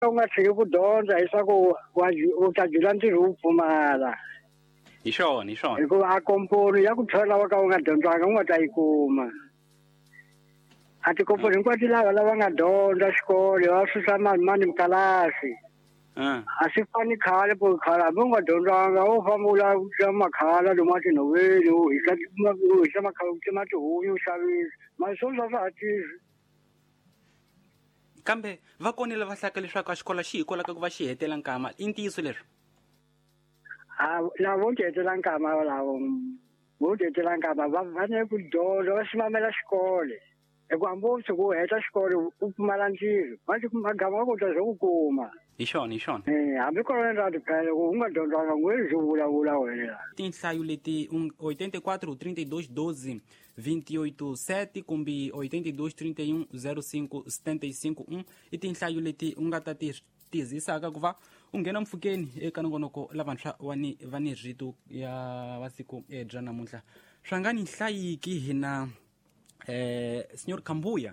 U nga tshiki ku dyondza leswaku u ta jula ntirho wu pfumala. Hi swona, hi swona. Hikuva a komponi ya ku thola wa ka u nga dyondzanga u nga ta yi kuma. A tikomponi hinkwato lava lava nga dyondza xikolo va susa mani mani mikalasi. A swi fani khale po khale hambi u nga dyondzanga wo famba u lava ku tsema makhala lomu a tinhoveni u hisa u hisa makhala u tsema tihunyi u xavisa mara sweswi a swa ha tirhi. Kambe va konile va hlaka leswaku a xikolo xi hikwalaho ka ku va xi hetela nkama i ntiyiso leswo? A lava vo ti hetela nkama lavo vo ti hetela nkama va fanele ku dyondza va ximamela xikolo hikuva hambi wo tshuka u heta xikolo u pfumala ntirho magama wa ku ta swo ku kuma. Hi xona, hi xona. Hambi kona ra tiphela ku u nga dyondzanga ngwe swo vulavula wena. Tinhlayo leti 84 32 12 28 7 kumbe 82 31 05 75 1 i tinhlayo leti u nga ta ti tizisaka ku va u nghena mpfhukeni eka nongonoko lavantshwa va ni rito ya va siku bya namuntlha. Swa nga ni hlayiki hina Senhor Kambuya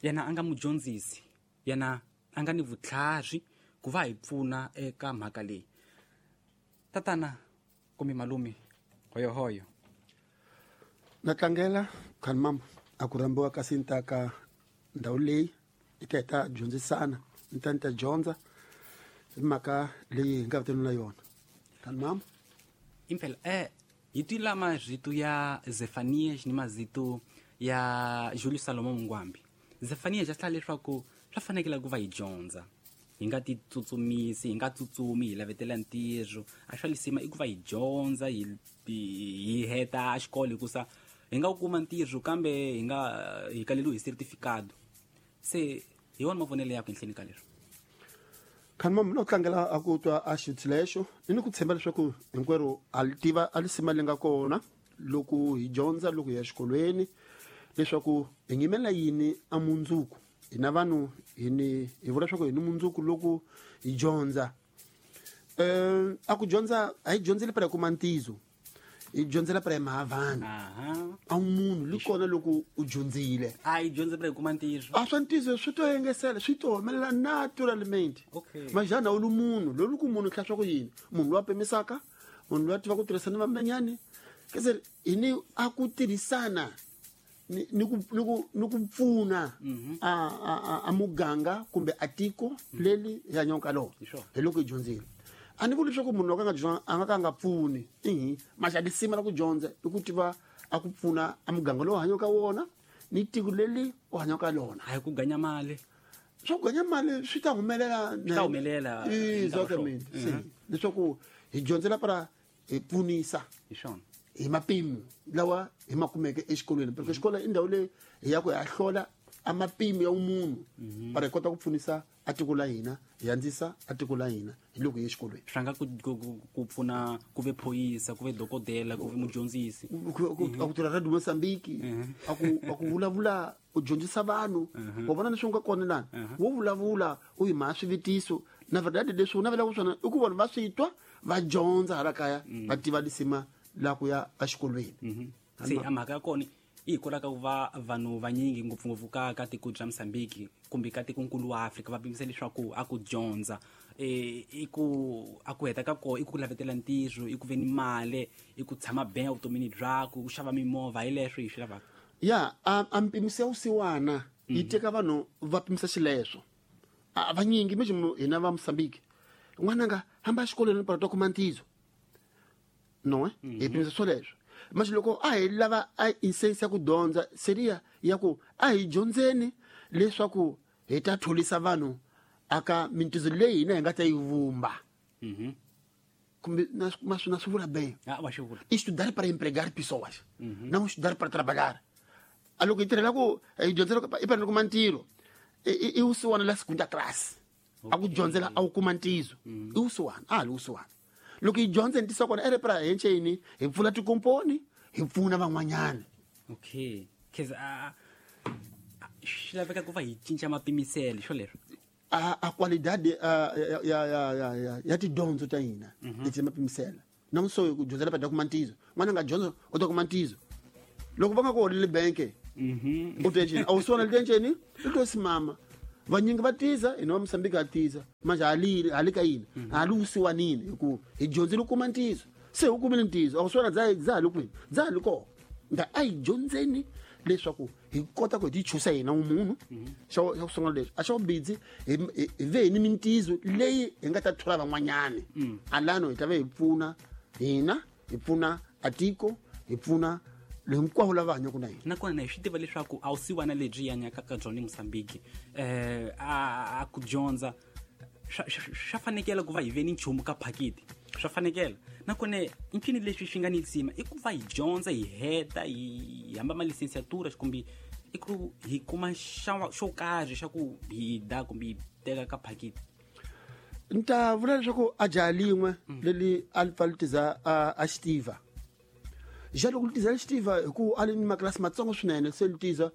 yena a nga mudyondzisi, yena a nga ni vutlhari ku va hi pfuna eka mhaka leyi. Tatana kumbe malume hoyohoyo. Na tlangela khani mama a ku rhambiwa kasi ni ta ka ndhawu leyi hi ta hi ta dyondzisana, ni ta ni ta dyondza hi mhaka leyi hi nga vitaniwa na yona. Khani mama. Impela hi twile marito ya Zefanias ni mazito ya Julius Salomon Mungwambi. Zefanias a hlaya leswaku swa fanekele ku va hi dyondza, hi nga ti tsutsumisi, hi nga tsutsumi hi lavetela ntirho. A swa lisima i ku va hi dyondza, hi heta xikolo hikusa hi nga wu kuma ntirho kambe hi nga hi kaleliwi hi certificado. Se hi wona mavonelo yakwe enhleni ka leswo. Khani mama no tlangela a ku twa a xitshilexo ni ku tshemba leswaku hinkwerhu a li tiva a lisima li nga kona loko hi dyondza loko hi ya exikolweni leswaku hi ngimela yini a mundzuku. Hina vanhu hi ni hi vula leswaku hi ni mundzuku loko hi dyondza. A ku dyondza a hi dyondzeli para kuma ntizo, hi dyondzela para mhaka vanhu. A munhu li kona loko u dyondzile. A hi dyondze para kuma ntizo. A swa ntizo swi to engesela, swi to humelela naturalmente. Majana u lu munhu, loyi ku munhu hlaya swa ku yini? Munhu loyi a pimisaka, munhu loyi a tiva ku tirhisana vamanyani. Kese hi ni a ku tirhisana ni ku ni ku ni ku pfuna a muganga kumbe a tiko leli hi hanyaka ka lona. Hi loko hi dyondzile. A ni vuli leswaku munhu loko a nga dyondzanga a nga ka a nga pfuni. Maxa lisima la ku dyondza i ku tiva a ku pfuna a muganga lowu hanyaka ka wona ni tiko leli u hanyaka ka lona. A hi ku ganya mali. Swa ku ganya mali swi ta humelela Swi ta humelela Exactamente. Leswaku hi dyondzela para hi pfunisa. Hi swona. Hi mapimo lawa hi ma kumeke exikolweni. Porque xikolo i ndhawu leyi hi ya ku hi ya hlola a mapimo ya munhu para hi kota ku pfunisa a tiko la hina, hi andzisa a tiko la hina hi loko hi ye exikolweni. Swi nga ku pfuna ku ve phorisa, ku ve dokodela, ku ve mudyondzisi. A ku tirha Radio Mozambique, a ku vulavula, u dyondzisa vanhu. Wa vona leswi nga kona lani? Wo vulavula u yi mhaka swivutiso. Na verdade leswi u navelaka swona i ku vanhu va swi twa, va dyondza hala kaya, va tiva lisima la ku ya exikolweni. Se a mhaka ya kona i hikwalaho ka ku va vanhu vanyingi ngopfungopfu ka tiko bya Mozambique kumbe ka tikonkulu wa Afrika va pimisa leswaku a ku dyondza, i ku a ku heta ka koho i ku lavetela ntirho, i ku ve ni mali, i ku tshama benga vutomini byakwe, ku xava mimovha, hi leswo hi swi lavaka. Ya, a mpimiso ya vusiwana yi teka vanhu va pimisa xileswo. A vanyingi mesmo hina va Mozambique, n'wananga hamba exikolweni para ta kuma ntizo. No, hi pimisa swoleswo. Mas loko a hi lava a insense ya ku dyondza seria ya ku a hi dyondzeni leswaku hi ta tholisa vanhu aka mintizo leyi hina hi nga ta yi vumba. Kumbe na swi vula bem. Ah, wa swi vula. Estudar para empregar pessoas. Não estudar para trabalhar. A loko hi tirhela ku hi dyondzela ku i fanele kuma ntirho. I wusiwana la segunda classe. A ku dyondzela a wu kuma ntizo. I wusiwana, a ha li wusiwana. Loko hi dyondza hi ntiso kona ere pra hi nceni, hi pfula tikomponi, hi pfuna van'wanyana. Okay. Cause swi laveka ku va hi cinca mapimiselo xo leswo. A qualidade, a, ya, ya, ya, ya, ya, ya tidyondzo ta hina, leti mapimiselo. Na muso ku dyondzela pa kuma ntizo. N'wana nga dyondza u ta kuma ntizo. Loko va nga ku holeli bank, u ta nceni, a wu swi vona le nceni, u to simama. Vanyingi va tiza hina va Mozambique ha tiza manje hali ka yini hali wusiwanini hi ku hi dyondzile kuma ntiyiso se u kumile ntiyiso a ku swona dza hali kwini dza hali kona nda a hi dyondzeni leswaku hi kota ku hi tichusa hina munhu xa ku sungula leswi a xa vubidzi hi ve hi ni mintiyiso leyi hi nga ta thola van'wanyani alano hi ta ve hi pfuna hina hi pfuna atiko hi pfuna hinkwavo lava hanyaka na hina. Nakona hi swi tiva leswaku a wu siwana lebyi hi hanyaka ka byona eMozambique a ku dyondza swa fanekela ku va hi ve ni nchumu ka phakiti swa fanekela. Nakona i ncini leswi swi nga ni lisima i ku va hi dyondza hi heta hi hamba malisensiatura kumbe i ku hi kuma xo karhi xa ku hi da kumbe hi teka ka phakiti. Ni ta vula leswaku a jaha lin'we leli a li pfa li tiza a xitiva ja loko li tiza li xitiva hi ku a li ni makilasi matsongo swinene se li tiza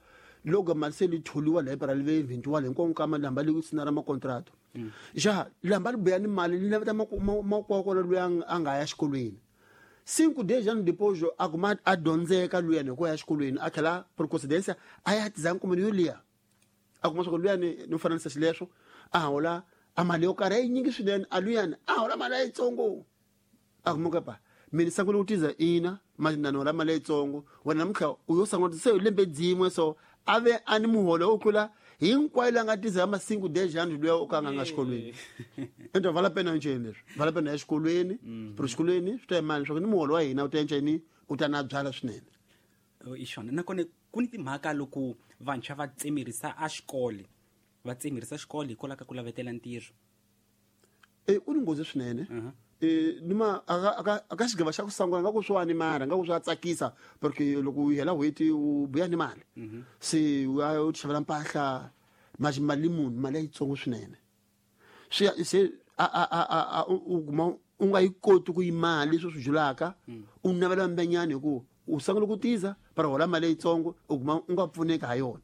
loko mali se li tholiwa laha para li ve vintiwa hinkwavo nkama li hamba li sina ra makontrato ja li hamba li buya ni mali li naveta makwavo kona loyi a nga ya xikolweni 5 days anos depois a kuma a dyondzeka luyani hi ku ya xikolweni a tlhela por coincidência a ya tiza nkumeni yoliya a kuma swa ku luyani ni fananisa xileswo a hola a mali yo karhi yi nyingi swinene a luyani a hola mali yitsongo a kuma ku pa mina sangula ku tiza ina mali na hola mali yitsongo wena namuntlha u yo sangula se lembe dzimwe so a ve a ni muholo wo tlula hinkwayo la nga tiza ma 5 days anos luya o ka nga xikolweni ento vala pena nceni leswi vala pena ya xikolweni pero xikolweni swi ta imali leswaku ni muholo wa hina u ta enceni u ta na byala swinene i xona. Nakona ku ni timhaka loko vantshwa va tsemerisa a xikolo va tsemerisa xikolo hikwalaho ka ku lavetela ntirho ku ni nghozi swinene nima aka xigava xa ku sangula nga ku swi wani mara nga ku swi tsakisa porque loko u hela n'hweti u buya ni mali se u ya u xavela mpahla mali mali munhu mali yitsongo swinene swi se a u kuma u nga yi koti ku yi mali leswi swi julaka u navela mbenyani hi ku u sangula ku tiza para hola mali yitsongo u kuma u nga pfuneki ha yona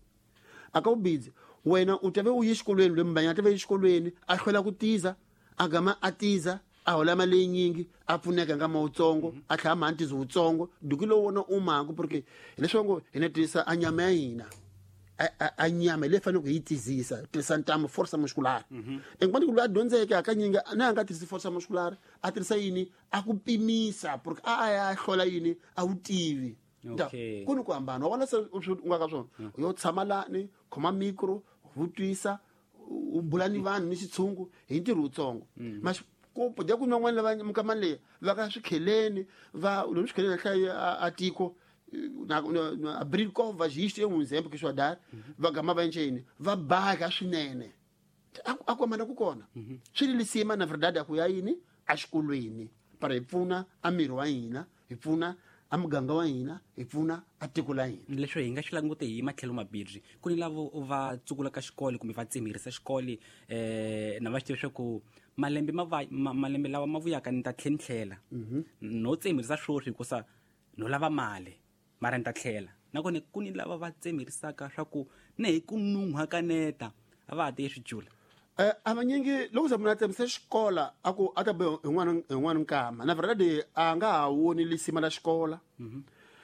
aka u busy wena u tave u ye xikolweni loyi mbanyana tave exikolweni a hlwela ku tiza a gama a tiza a hola mali yinyingi a pfuneka nga mawutsongo a tlhela ma ntizo wutsongo duku lowu wona u maku porque hileswaku hi na tirhisa a nyama ya hina a nyama leyi faneleke hi yi tizisa tirhisa ntamu force muscular enkwani ku loyi a dyondzeke hakanyingi na a nga tirhisi force muscular a tirhisa yini a ku pimisa porque a ya hlola yini a wu tivi ku ni ku hambana wa vona se u nga ka swona u yo tshama lani khoma micro vutisa u bula ni vanhu ni xitshungu hi ntirho wutsongo ku dya ku van'wana lava minkamani leyi va ka swikheleni va lomu swikheleni hlaya a tiko na abril kova xixi e um exemplo que estou a dar va gama va enceni va baka swinene a ku hambana ku kona swi ri lisima na verdade a ku ya yini exikolweni para hi pfuna a miri wa hina hi pfuna a muganga wa hina hi pfuna a tiko la hina. Leswi hi nga xi langute hi matlhelo mabirhi ku ni lavo va tsukulaka xikolo kumbe va tsemerisa xikolo na va xi tiva leswaku malembe malembe lawa ma vuyaka ni ta tlhela ni tlhela no tsemerisa swoswi hikusa no lava mali mara ni ta tlhela. Nakona ku ni lava va tsemerisaka swa ku ne hi ku nun'hwa kaneta a va ha tiye swijula a vanyingi loko se munhu a tsemisa xikola a ku a ta be hi n'wana nkama na verdade a nga ha woni lisima la xikola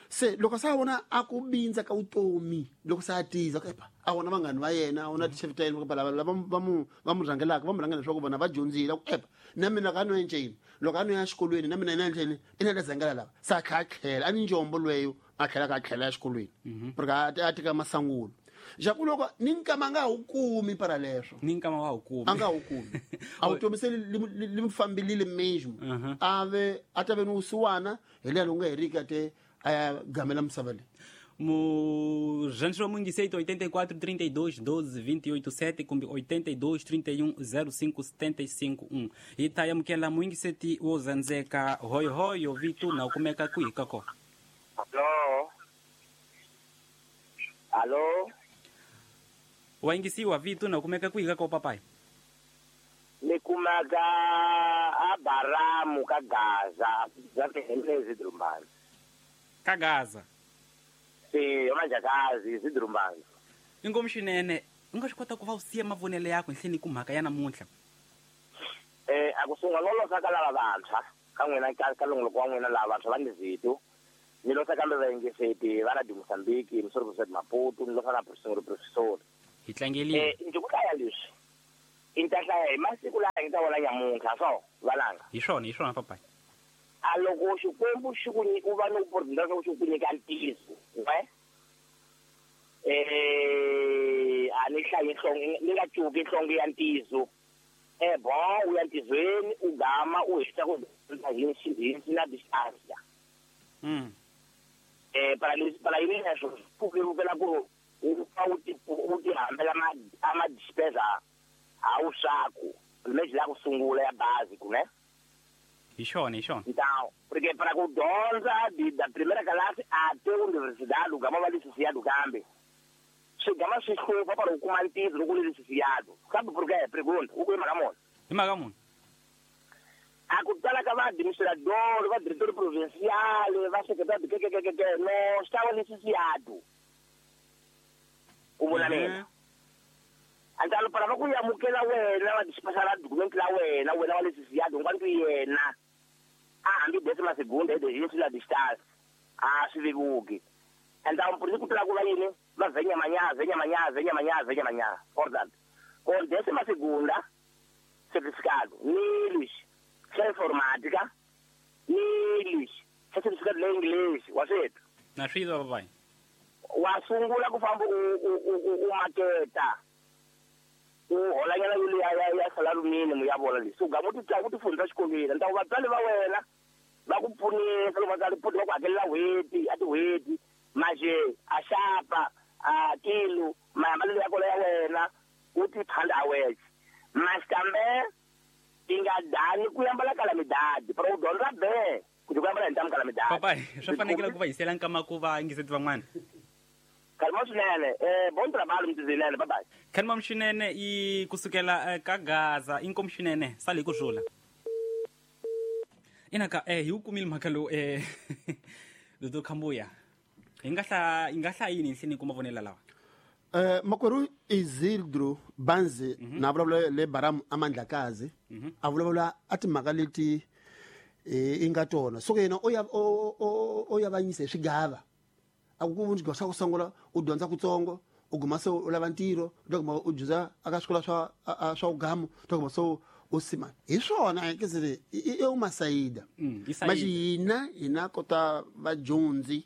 se loko se a vona a ku bindza ka vutomi loko se a tiza epa a vona vanghani va yena a vona tichef ta yena lava lava va mu rhangelaka va mu rhangela leswaku vona va dyondzile ku epa na mina ka no enceni loko a no ya xikolweni na mina ina enceni ina ta zangela lava se a tlhela a tlhela a ni njombo lweyo a tlhela ka tlhela ya xikolweni porque a teka masangulo ja ku loko ni nkama nga wu kumi para leswo ni nkama wa wu kumi a nga wu kumi a wu tomi se li mfambilile mesmo a ve a ta ve ni wusiwana hi leya lowu nga heriki a te a ya gamela misava leyi. Murhandzi wa mungiseito 84 32 12 28 7 kumbe 82 31 05 75 1 hi ta amukela muyingiseti wo zandzeka hoyohoyo vito na u kumeka kwihi ka kona. Allo. Allo. Wa yingisiwa vito na kumeka kwihi ka kona papai? Ni kumaka a Baramu ka Gaza, za Zidrumbani. Ka Gaza. Si, Manjakazi, Zidrumbani. Inkomu swinene, u nga swi kota ku va u siya mavonelo yakho nhleni ku mhaka ya namuntlha. A ku sungula lolosa ka lava vantshwa, ka n'wina ka longoloko wa n'wina lava vantshwa va ni zito. Ni losa kambe vayingiseti va Radio Mozambique, Msori Professor Maputo, ni losa na Professor. Hi tlangeliwe. Ndzi ku hlaya leswi i ta hlaya hi masiku laha hi nga ta vona nyamuntlha so valanga. Hi swona papai. A loko xikwembu xi ku u va ni opportunity leswaku xi ku nyika ntiyiso we a ni hlayi nhlonge ni nga cuki nhlonge ya ntiyiso bon u ya ntizweni u gama u heta ku hi na distance. Para yini leswo ku vevukela ku u pfa u ti hambela ama despesa a wu swaku lexi la ku sungula ya bazi ku ne. Hi swona. Então, porque para ku dyondza da primeira classe até universidade gama va licenciado kambe swi gama swi hlupha para u kuma ntirho loko u li licenciado. Sabe por quê? Pergunta, u ku hi mhaka muni? Hi mhaka muni? A ku tala ka va administrador, va diretor provincial, va secretário kekekeke, no estava licenciado. U vona mina. Então para va ku amukela wena va dispensar documento la wena wa licenciado enquanto yena a hambi décima segunda e la distância a swi vevuki. Então por isso ku tala ku va yini va venya manhã portanto com décima segunda certificado ni lixo xa informática ni lixo xa certificado le inglês wa swethu na swilo papai wa sungula ku famba u maketa u holanyana yo ya salario mínimo ya vona leswi u gama u ti fundza xikolweni ntaku vatswari va wena va ku pfunisa loko vatswari va ku hakelela n'hweti a tin'hweti maje a xapa a kilo mahambalelo ya kona ya wena u ti phanda a wexe mas kambe ti nga dani ku yambala kalamidadi para u dyondza be ku ti ku yambala hi ntamu kalamidadi. Papai swi fanekele ku va hisela nkama ku va yingiseti van'wana. Kalma swinene, bon trabalho mtizinene, bye bye. Kalma swinene i kusukela ka Gaza inkomu swinene sali ku rhula. Inaka hi wu kumile mhaka lowu Dr. Khambuya. Hi nga hlaya yini nhleni kuma vonela lawa? Makwerhu Isidro Banzi na vulavula le Baram Amandlakazi a vulavula a timhaka leti i nga tona. So yena o ya vanyisa hi swigava. A ku vunji swa ku sungula u dyondza kutsongo u guma se u lava ntirho u guma u dyondza aka swikolo swa ugamu u guma se u sima hi swona ke se i uma saída. Mas hina kota vadyondzi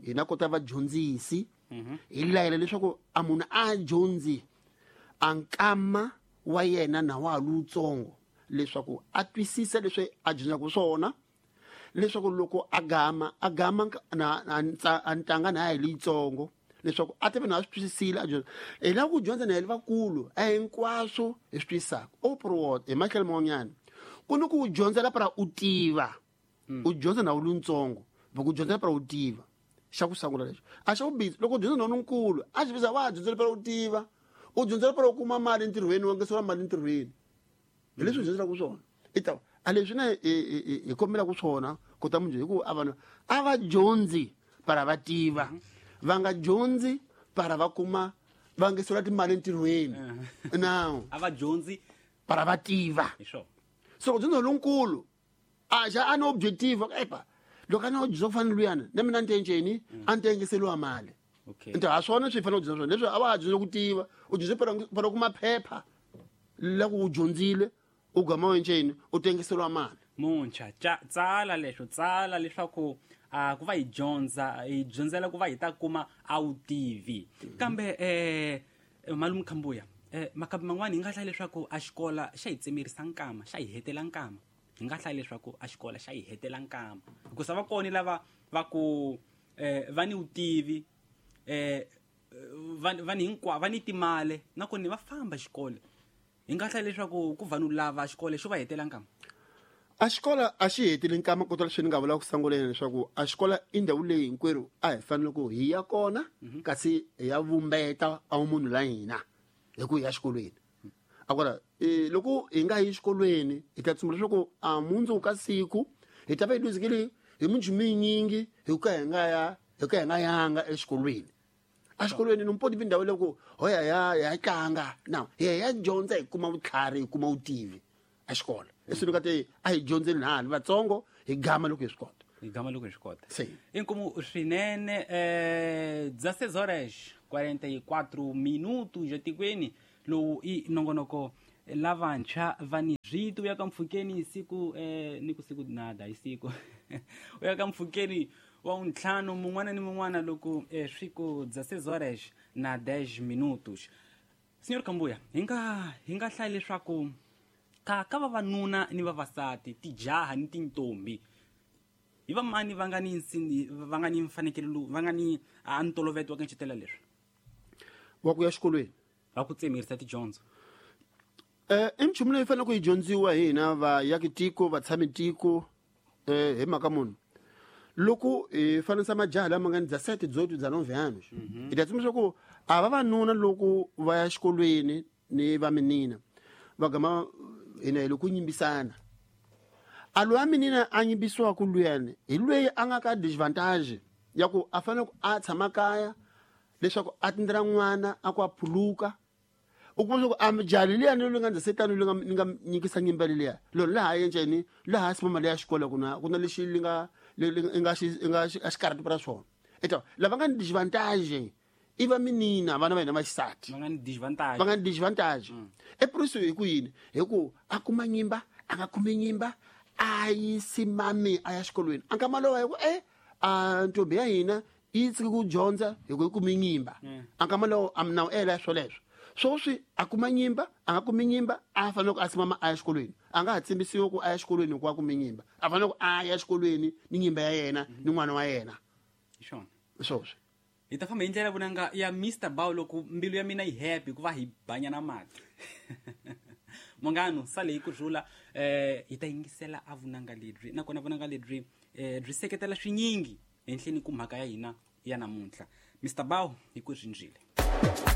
hina kota vadyondzisi hi layela leswaku a munhu a dyondzi a nkama wa yena na wa lutsongo leswaku a twisisa leswi a dyondzaka swona leswaku loko a gama na ntanga na hi leyitsongo leswaku a tive na swi twisisile a dyondza. Hi lava ku dyondza na hi lavakulu a hinkwaswo hi swi twisisaka oprowot hi matlhelo man'wanyana ku ni ku dyondzela para u tiva u dyondza na wu luntsongo va ku dyondzela para u tiva xa ku sungula lexo a xa vumbirhi loko u dyondza na lonkulu a xi visa wa dyondzela para u tiva u dyondzela para u kuma mali entirhweni wa ngeseriwa mali entirhweni hi leswi u dyondzelaka swona i ta a leswi na hi kombelaka swona kota munhu hi ku a vanhu a va dyondzi para va tiva va nga dyondzi para va kuma va ngeseriwa timali entirhweni now a va dyondzi para va tiva so ku dyondza lonkulu a xa a ni objective epa loko a ni dyondza ku fana luyana na mina ni tenceni a ni tengeseriwa mali. Nto ha swona swi fanele ku dyondza swona leswi a va ha dyondza ku tiva u dyondze para kuma phepha la ku u dyondzile u gama wenceni u tengeseriwa mali. Muntshwa tsala leswo tsala leswaku ku va hi dyondza hi dyondzela ku va hi ta kuma a wu tivi kambe malume Khambuya makhambi man'wani hi nga hlaya leswaku a xikola xa hi tsemerisa nkama xa hi hetela nkama hi nga hlaya leswaku a xikola xa hi hetela nkama hikusa va kona lava va ku va ni vutivi va ni hinkwa va ni timali nakona va famba xikolo hi nga hlaya leswaku ku vanhu lava xikolo xo va hetela nkama. A xikolo a xi heteli nkama kota leswi ni nga vula ku sunguleni leswaku a xikolo i ndhawu leyi hinkwerhu a hi fanele ku hi ya kona kasi hi ya vumbeta a munhu la hina hi ku ya xikolweni. Agora loko hi nga yi xikolweni hi ta tsundzuka leswaku a mundzuku ka siku hi ta va hi luzekile hi minchumu yinyingi hi ka hi nga ya hi ka hi nga yanga exikolweni. A xikolweni ni mpoti ndhawu leyi ku ho ya ya tlanga now hi ya dyondza hi kuma vutlhari hi kuma vutivi a xikolo leswi ni nga te a hi dyondzeni na hala vatsongo hi gama loko hi swi kota. Hi gama loko hi swi kota. Inkomu swinene 16 horas 44 minutos etikweni lowu i nongonoko lavantshwa va ni rito ya ka mpfhukeni siku ni ku siku nada hi siku u ya ka mpfhukeni wa ntlhanu mun'wana ni mun'wana loko swi ku 16 horas na 10 minutos. Senhor Kambuya, hi nga hlaya leswaku ka vavanuna ni vavasati, tijaha ni tintombi, hi vamani va nga ni va nga ni mfanekelo va nga ni a ntolovelo wa ku ncetela leswi wa ku ya xikolweni va ku tsemerisa tidyondzo? I nchumu leyi fanele ku yi dyondziwa hi hina vayaki tiko, vatshami tiko, hi mhaka munhu loko hi fanisa majaha lama nga ni 17, 18, 19 anos, hi ta tsundzuxa ku a vavanuna loko va ya xikolweni ni va minina va gama hina hi loko nyimbisana. A loyi a minina a nyimbisiwaka luyani hi loyi a nga ka disadvantage ya ku a fanele ku a tshama kaya leswaku a tindlela n'wana a ku a phuluka. U kuma leswaku a jali liyani loyi nga 17 loyi ni nga nyikisa nyimbele liya lolo laha yenceni laha simama leya xikolo ku na lexi li nga nga a xikarhati ra swona. Eta lava nga ni disadvantage i va minina vana va hina va xisati va nga ni disadvantage, va nga ni disadvantage. E por isso hi ku yini? Hi ku a kuma nyimba, a nga kumi nyimba, a yi simami a ya xikolweni. A nkama lowa hi ku a ntombi ya hina yi tshiki ku dyondza hi ku yi kumi nyimba. A nkama lowo a mina ela swoleswo swoswi a kuma nyimba, a nga kumi nyimba, a fanele ku a simama a ya xikolweni. A nga ha tsimbisiwi ku a ya xikolweni hikuva a kumi nyimba, a fanele ku a ya xikolweni ni nyimba ya yena ni n'wana wa yena. Swona swoswi hi ta famba hi ndlela vunanga ya Mr Bow loko mbilu ya mina yi happy ku va hi banyana mati. Mongano sale hi ku rhula, hi ta yingisela a vunanga lebyi, nakona vunanga lebyi byi seketela swinyingi henhleni ku mhaka ya hina ya namuntlha. Mr Bow hi ku rindzile.